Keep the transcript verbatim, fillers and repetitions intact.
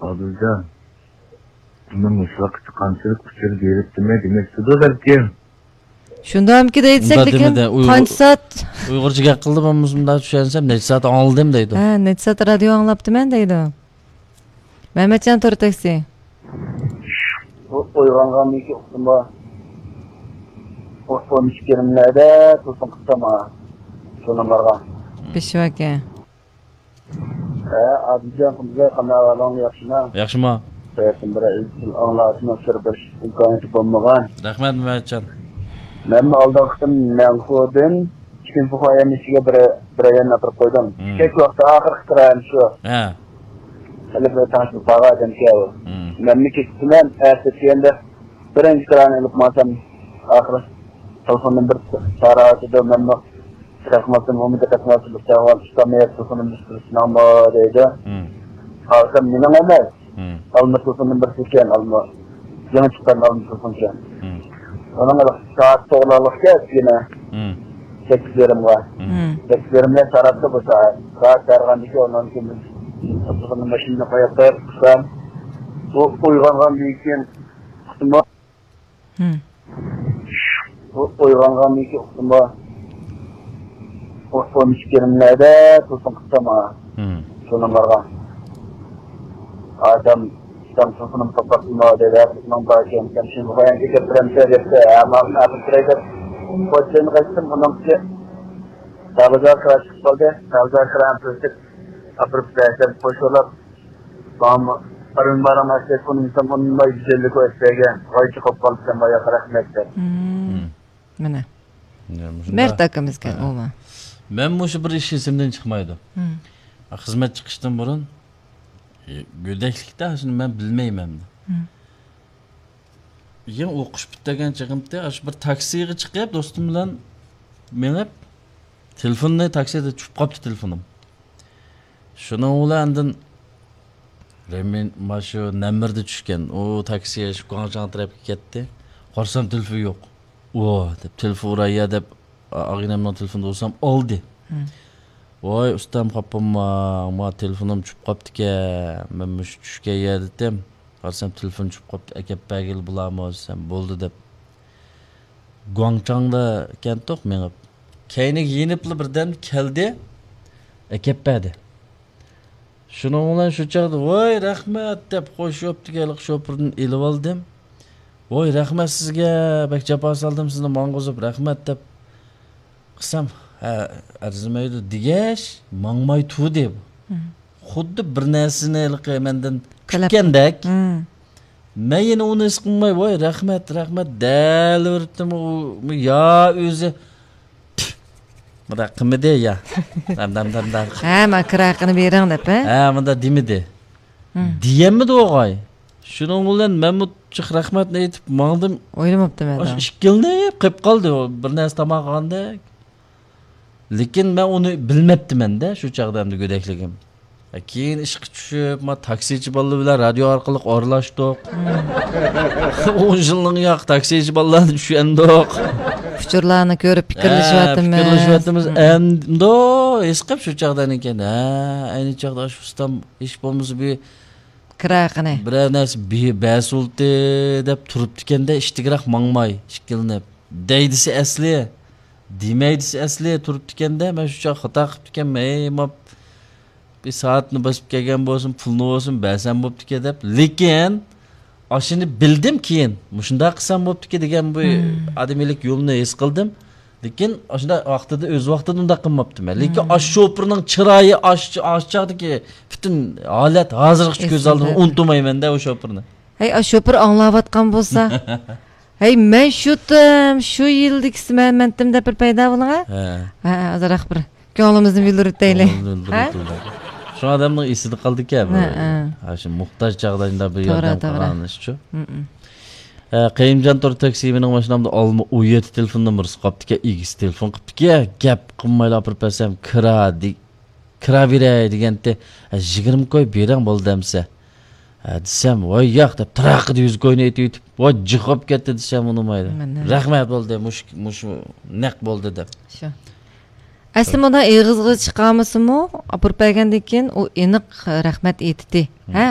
ئادىلجان، مەن مۇشۇ ۋاقىتتا قانچىلىك ئۇچۇر بېرىپتىمەن دېمەكچىدۇ بەلكىم. شۇنداقمىكى دەيدىسەك، ئۇنداق لېكىن دېمىدى، ئۇيغۇر-، قانچە سائەت؟ ئۇيغۇرچە گەپ قىلدى، مەن مۇشۇنداق چۈشەنسەم، نەچچە سائەت ئاڭلىدىم دەيدۇ. ھە، نەچچە سائەت رادىيو ئاڭلاپتىمەن دەيدۇ. مەمەتجان تور تاكسى. ئۇ ئويغانغاندىن كېيىن ئۇقتىمۇ؟ ئۇ ئون ئىككى يېرىملەردە تېلېفون قىپتۇ ماڭا. شۇ نومۇرغا. بېشىۋاكە. ھە، ئادىلجان قىمزاي، قانداق ئەھۋالىڭ، ياخشىمۇ؟ ياخشىما. سەۋەبتىن بىر ئىزچىل ئاڭلاشنىڭ سىر بېرىش ئىمكانىيىتى بولمىغان. رەھمەت، مەمەتجان. مەنمۇ ئالدىنقى قېتىم مەنخۇدىن چىن فۇخۇا يەرنىڭ ئىچىگە بىر، بىر يەرنى ئاپىرىپ قويدۇم. مم. كەچ ۋاقتى ئاخىرقى كىرايەم شۇ. ھە. ھېلى بىر تانسا بارغان ئادەم كەۋۇ. مم. مەنمۇ كېتىپتىمەن، ئەتە دېگەندە بىرىنچى كىرانى ئېلىپ ماڭسام، ئاخىرى تېلېفون نومۇرى سارا ئاتىدۇ، مەنمۇ دىققەت قىلماستىن، ئۇمۇ دىققەت قىلماستىن، بىر ساۋال ئۇستام، يا تېلېفون نومۇرى سىزنىڭمۇ دەيدۇ. مم. قارىسام، مېنىڭ ئەمەس. مم. ئالما تېلېفون نومۇرى ئىكەن، ئالما. يېڭى چىققان ئالما تېلېفونكەن. مم. ئۇنىڭ سائەت توغرىلىق كەچ يەنە. مم. سەككىز يېرىمغا. مم. مم. سەككىز يېرىمدە تاراتتى بۇ سائەت. سائەت بارغاندىكىن ئۇنىڭ كېيىن تېلېفون ماشىنىنى قويۇپ قويۇپ قىلسام، ئۇ ئويغانغاندىن كېيىن قىسمى مم. ئۇ ئويغانغاندىن كېيىن ئۇقتىمۇ؟ ئۇ ئون ئىككى يېرىملەردە تېلېفون قىپتۇ ماڭا. مم. شۇ نومۇرغا. ئادەم، ئىشتان تېلېفونۇم توختاتمىدى، ۋەقىتنىڭ بار ئىكەن، شۇنى بايان كۆتۈرۈپ بېرەمسەن دەپتۇ. ھە، ماڭا ئاپىرىپ بېرەي دەپ، خوتۇنغا ئېيتتىم، ئۇنىڭكى دەرۋازىغا كىرىپ چىقىپ قالدى. دەرۋازىغا كىرىپ ئاپىرىپ بەرسەم، خوش بولۇپ، ماڭا ئارمىن بارام ئەسلى، ئۇنىمىسام، ئۇنىماي گۈزەللىك ئۆتمەيگەن. غايچە قوپ قالدى، سەن باياق رەھمەت دەپ. مم. مم. مانا. يا، مۇشۇنداق. مەرت ئاكىمىزكەن ھە. ئۇمۇ. مەن مۇشۇ بىر ئىش ئېسىمدىن چىقمايدۇ. مم. خىزمەت چىقىشتىن بۇرۇن، ئى، گۆدەكلىكتە شۇنى مەن بىلمەيمەن. مم. يېڭى ئوقۇش پۈتتۈرگەن چېغىمتى، ئاشۇ بىر تاكسىغا چىقىپ، دوستۇم بىلەن مېڭىپ، تېلېفوننى، تاكسىدا چۈشۈپ قاپتۇ تېلېفونۇم. شۇنىڭ بىلەن ئاندىن رېمىن، مانا شۇ نەمىردە چۈشكەن. ئۇ تاكسى شۇ گۇاڭچاڭ تەرەپكە كەتتى. قارىسام تېلېفون يوق. ۋا دەپ تېلېفون ئۇراي يا دەپ، ئا-، ئاغىنەمنىڭ تېلېفونىدا ئۇرسام ئالدى. ھە. ۋاي ئۇستام، خاپا بولماڭ، ما تېلېفونۇم چۈشۈپ قاپتىكەن. مەن مۇشۇ چۈشكەن يەردە ئىدىم. قارىسام تېلېفون چۈشۈپ قاپتۇ، ئەكەپ بەرگىلى بولارمۇ دېسەم، بولدى دەپ. گۇاڭچاڭدا ئىكەنتۇق مېڭىپ. كەينىگە يېنىپلا بىردەم كەلدى، ئەكەپ بەردى. شۇنىڭ بىلەن شۇ چاغدا، ۋاي رەھمەت دەپ، خوش يوپتىكى ھېلىقى شوپۇردىن ئېلىۋالدىم. ۋاي رەھمەت سىزگە، بەك جاپا سالدىم سىزنى ماڭغۇزۇپ، رەھمەت دەپ قىلسام، ھە، ئەرزىمەيدۇ دېگەچ، ماڭماي تۇردى. مم. خۇددى بىر نەرسىنى ھېلىقى مەندىن تەلەپ كۈتكەندەك. مم. مەن يەنە ئۇنى ھېس قىلماي، ۋاي رەھمەت، رەھمەت دەيلىۋېرىپتىمۇ، ئۇ يا ئۆزى مۇنداق قىلمىدى يا. دەم، دەم، دەم، دەم. ھە، مانا كىرايە قىلىپ بېرىڭ دەپ، ھە؟ ھە، مۇنداق دېمىدى. ھىم. دېيەلمىدى ئوغاي. شۇنىڭ بىلەن مەنمۇ جىق رەھمەتنى ئېيتىپ ماڭدىم. ئويلىماپتىمەن. ئاشۇ ئىككىلىنىپ قېلىپ قالدى، بىر نەرسە تاماق قالغاندەك. لېكىن مەن ئۇنى بىلمەپتىمەن-دە، شۇ چاغدا ئەمدى گۆدەكلىكىم. كېيىن ئىشقا چۈشۈپ، ما تاكسىچى بالىلار بىلەن رادىيو ئارقىلىق ئارىلاشتۇق. ئون يىلنىڭ ياق تاكسىچى بالىلارنى چۈشەندۇق. ئۇچۇرلارنى كۆرۈپ پىكىرلىشىۋاتىمىز. ھە، پىكىرلىشىۋاتىمىز. ئەمدى ھېس قىلىپ شۇ چاغدا ئەنىكەن. ھە، ئەينى چاغدا شۇ ئۇستام ھېچ بولمىسا بىر كىرايە قىلىپ. بىرەر نەرسە بى-، بەرسۇلتى دەپ تۇرۇپتىكەندە، ئىشتىكراق ماڭماي، ئىككىلىنىپ. دەيدىسى ئەسلى، دېمەيدىسى ئەسلى تۇرۇپتىكەندە، مەن شۇ چاغ خاتا قىپتىكەنمەن، ھەي، ماپ، بىر سائەتنى بېسىپ كەلگەن بولسۇن، پۇلنى بولسۇن بەرسەم بوپتىكەن دەپ. لېكىن، ئاشۇنى بىلدىم كېيىن، مۇشۇنداق قىلسام بوپتىكەن دېگەن بۇ ئادىمىيلىك يولىنى ھېس قىلدىم. لېكىن ئاشۇنداق ۋاقتىدا، ئۆز ۋاقتىدا ئۇنداق قىلماپتىمەن. لېكىن ئاشۇ شوپۇرنىڭ چىرايى، ئاشۇ، ئاشۇ چاغدىكى پۈتۈن ھالەت ھازىرغىچە كۆز ئالدىمدا، ئۇنتۇمايمەن-دە ئۇ شوپۇرنى. ھەي، ئاشۇ شوپۇر ئاڭلاۋاتقان بولسا. ھەي، مەن شۇتۇم، شۇ يىلدىكىسى مەن، مەنتىم دەپ بىر پەيدا بولۇڭا. ھە. ھە، ئازراق بىر كۆڭلىمىزنى بىلدۈرۈۋېتەيلى. كۆڭلىمىزنى ھە؟ بىلدۈرۈۋېتەيلى. شۇ ئادەمنىڭ ئېسىدە قالدىكەن بۇ. ھە، ھە. ھە، شۇ موھتاج چاغدا شۇنداق بىر توغرا، ياردەم توغرا. قىلغان ئىشچۇ. ھە، قېيۇمجان تور تاكسى، مېنىڭ ماشىنامدا ئالما ئون يەتتە تېلېفون نومۇرىسى قاپتىكەن، ئىگىسى تېلېفون قىپتىكەن، گەپ قىلمايلا ئاپىرىپ بەرسەم، كىرا دېگەن. كىرا بېرەي دېگەنتى، ھە، يىگىرمە كوي بېرىڭ بولدى ئەمسە. ھە، دېسەم، ۋاي ياق دەپ، تىراقىدا يۈز كوينى ئېتىۋېتىپ، ۋاي جىق بولۇپ كەتتى دېسەم، ئۇنىمايدۇ. مانا. رەھمەت بولدى، مۇشۇ، مۇشۇ نەق بولدى دەپ. شۇ. ئەسلى مۇنداق ئېغىزغا چىقارمىسىمۇ، ئاپىرىپ بەرگەندىن كېيىن ئۇ ئېنىق رەھمەت ئېيتتى. ھە،